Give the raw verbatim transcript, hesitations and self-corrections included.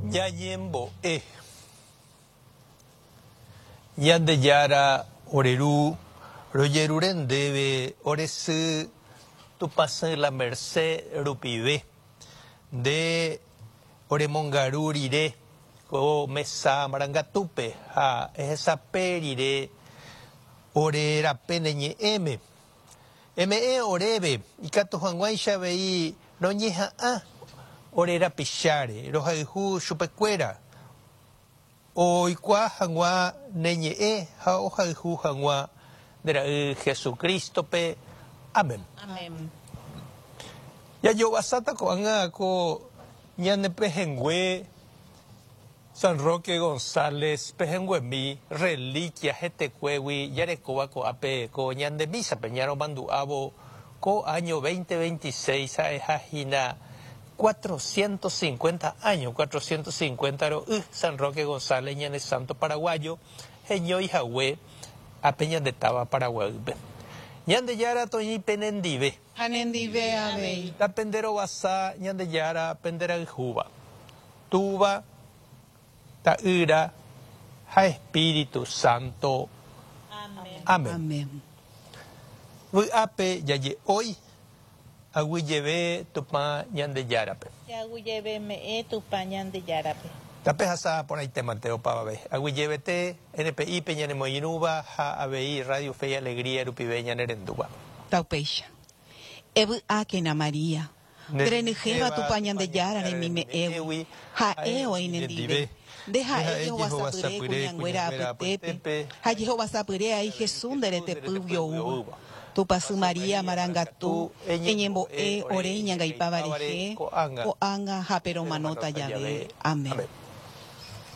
Ñañembo'e. Ñandejára ore Ru, rojerure ndéve ore sy Tupãsy La Merced rupive, nde oremongaru rire ko mesa marangatúpe ha ehesape rire ore rape ne ñe'ẽme. Eme'ẽ oréve ikatu hag̃uáicha avei roñeha'ã ore rapicháre rohayhu chupekuéra oikuaa hag̃ua ne ñe'ẽ ha ohayhu hag̃ua nde ra'y Jesucristo-pe. Amén. Amén. Jajovasáta ko'ág̃a ko ñane pehẽngue San Roque González pehẽnguemi reliquia hetekuégui jarekóva ko'ápe ko ñande mísape ñaromandu'ávo ko año veinte veintiséis ha'eha hína cuatrocientos cincuenta años, cuatrocientos cincuenta ro'y San Roque González ñane santo paraguayo heñói hague ápe ñande táva Paraguaýpe. Ñandejára toĩ penendive. Ha nendive avei. Tapenderovasa Ñandejára penderayhúva. Túva, Ta'ýra ha Espíritu Santo. Amén. Amén. Amén. Vy'ápe jaje'ói aguyjeve Tupã Ñandejárape. Aguyjeve me'ẽ Tupã Ñandejárape. Tapehasa porãitémante opavave. Aguyjevete N P I-pe ñanemoirũva ha avei Radio Fe y Alegría rupive ñanerendúva. Taupéicha. Evy'ákena María, nderenyhẽva Tupã Ñandejára remime'ẽgui, ha'e oĩ nendive. Nde ha'e jehovasapyre kuñanguéra apytépe, ha jehovasapyre ai Jesús nde retepýgui oúva. Tupãsy María marangatu, eñembo'e ore iñangaipáva rehe, ko'ág̃a ha peromanóta jave. Amén.